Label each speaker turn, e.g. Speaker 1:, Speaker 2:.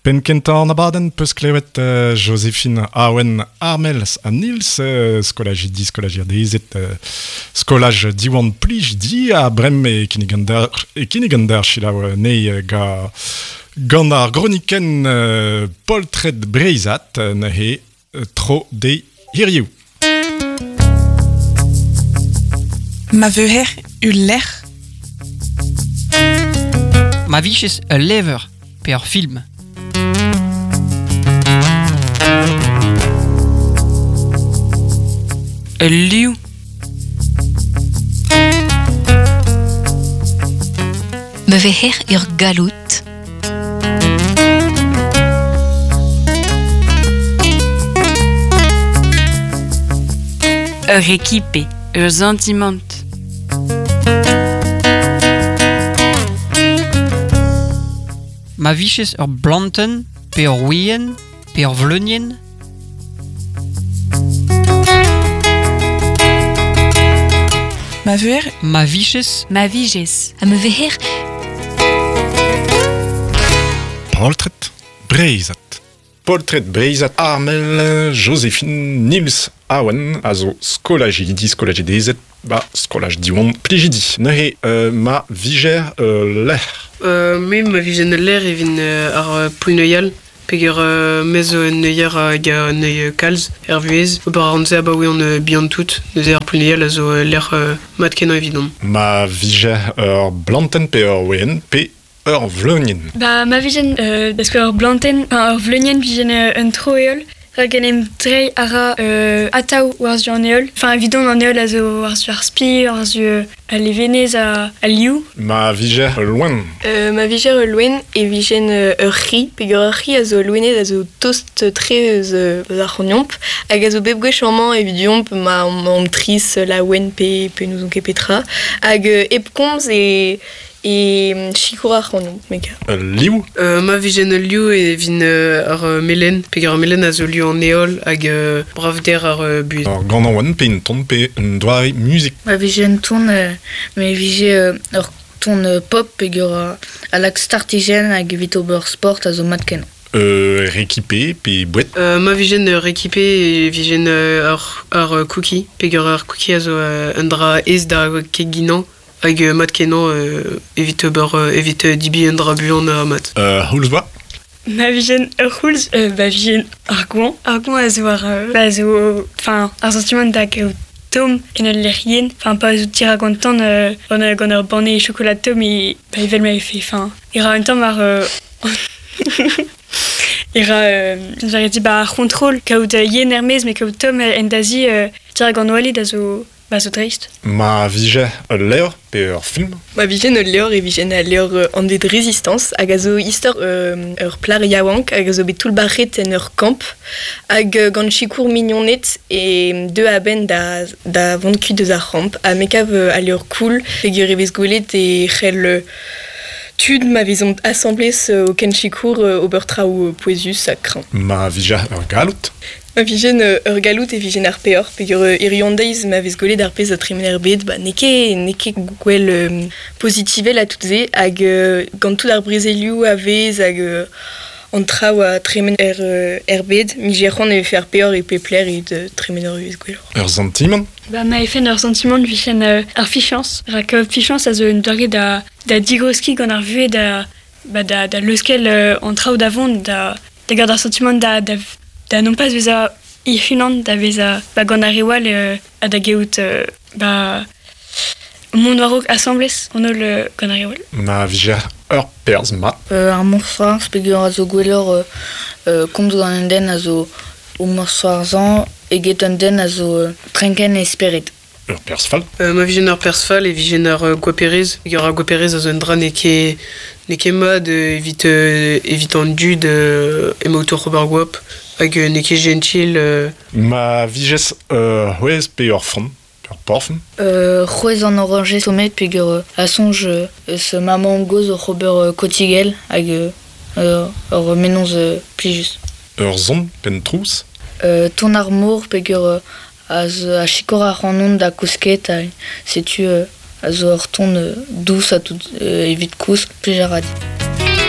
Speaker 1: Penn kentañ an abadenn 'peus klevet Joséphine Awen Armel ha Nils, skolajidi, skolajiadezed, skolaj Diwan Plijdi ha bremañ e kinnig an der e kinnig an der selaou anezhi ga gant ar gronikenn Poltred Breizhat neuze tro dezhi hiziv.
Speaker 2: Ma veuher ul lec'h.
Speaker 3: Ma vijes ul levr pe ur film.
Speaker 2: Ul liv.
Speaker 4: Ma veher ur galloud.
Speaker 2: Ur rekipe, ur santimant.
Speaker 3: Ma vijes ur blantenn pe ur wienn pe ur vleunienn.
Speaker 2: Ma veuher
Speaker 3: Ma vijes
Speaker 2: Ma vijes.
Speaker 4: Ha ma veher
Speaker 1: Poltred Breizhat. Poltred Breizhat Armel Joséphine Nils Awen a zo skolajidi, skolajidezed ba skolaj Diwan Plijidi. Neuze ma vijer lec'h.
Speaker 5: Me ma vijen ul lec'h e vin ar poull-neuial peger me zo un neuier hag a neuiñ kalz er vuhez. Ober a ran se abaoe on bihan-tout. Neuze ar poull-neuial a zo lec'h mat-kenañ evidon.
Speaker 1: Ma vijer ur blantenn pe ur we'enn pe ur vleunienn.
Speaker 6: Ba ma vijen da skouer ur blantenn, enfin ur vleunienn vijen un tro-heol rak en em dreiñ a ra atav war-zu an heol. Enfin evidon an heol a zo war-zu ar spi, war-zu al levenez ha al liv.
Speaker 1: Ma vijer ul loen.
Speaker 7: Ma vijer ul loen e vijen ur c'hi peogwir ur c'hi a zo loened a zo tost-tre eus ar c'hognomp hag a zo bep gwech amañ evidomp ma omp trist, laouen pe pe n'ouzon ket petra. Hag hep komz e E sikour ac'hanomp, me gar.
Speaker 1: Ul liv?
Speaker 5: Ma vijen ul liv e vin ar melen, peogwir ar melen a zo liv an heol hag bravder ar buhez.
Speaker 1: Ur ganaouenn pe un ton pe un doare muzik.
Speaker 8: Ma vije un ton, me vije ur ton pop peogwir a lak startijenn hag evit ober sport a zo mat-kenañ.
Speaker 1: Rekipe pe boued?
Speaker 5: Ma vijen rekipe e vijen ar cookie, peogwir ar cookie a zo un dra aes da keginañ Hag mat-kenañ evit ober evit debriñ un dra buan ha mat.
Speaker 1: C'houlz 'oa?
Speaker 6: Ma vijen ur c'houlz, ba vijen ar goañv. Ar goañv a zo ar ba zo enfin ar santimant da gaout tomm en ul lec'h yen. Enfin pa zo dirak an tan gant ur banne chokolad tomm e ba evel ma vefe enfin e ra un tamm ar e ra j'aurais dit ba ar c'hontrol kaout yen er-maez mais kaout tomm en da zi dirak an oaled a zo Ba zo dreist.
Speaker 1: Ma vije ul levr pe ur film?
Speaker 7: Ma vijen ul levr e vijen al levr anvet Résistance hag a zo istor ur plac'h yaouank hag a zo bet toullbac'het en ur kamp hag gant sikour mignoned e deu a-benn da, da vont kuit eus ar c'hamp ha me kav al levr cool peogwir e vez gwelet e c'hell tud ma vezont asambles o ken sikour ober traoù pouezus ha kreñv.
Speaker 1: Ma vije ur galloud?
Speaker 7: Ma vijen ur galloud e vijen ar peoc'h peogwir hiziv an deiz ma vez gwelet ar pezh a tremen er bed ba n'eo ket n'eo ket gwell pozitivel ha tout se hag gant tout ar brezelioù a vez hag an traoù a tremen er er bed 'mije c'hoant e vefe ar peoc'h e pep lec'h evit tremen ur vuhez gwelloc'h.
Speaker 1: Ur santimant?
Speaker 6: Ba ma vefen ur santimant 'vijen ar fichañs rak fichañs a zo un doare da da digreskiñ gant ar vuhez da ba da da leuskel an traoù da vont da da gaout ar santimant da da da non pas bezañ hec'h-unan, da vezañ ba gant ar reoù all ha da gaout ba mont war-raok asambles an holl gant ar reoù all.
Speaker 1: Ma vije ur perzh mat.
Speaker 8: Ar mousc'hoarzh peogwir a zo gwelloc'h komz gant un den a zo o mousc'hoarzhañ eget un den a zo trenkenn e spered.
Speaker 1: Ur perzh fall?
Speaker 5: Ma vijen ur perzh fall e vijen ur goaperez. Ur goaperez a zo un dra n'eo ket n'eo ket mat evit evit an dud emaout oc'h ober goap hag n'eo ket jentil.
Speaker 1: Ma vijes ur c'hwezh pe ur front, ur porfum?
Speaker 8: C'hwezh an orañjez tommet peogwir a soñj eus ma mamm-gozh oc'h ober kotigell hag ur mennozh plijus.
Speaker 1: Ur son penn-trouz?
Speaker 8: Ton ar mor peogwir a sikour ac'hanon da kousket ha setu a zo ur ton dous ha tout evit kousk plij a ra din.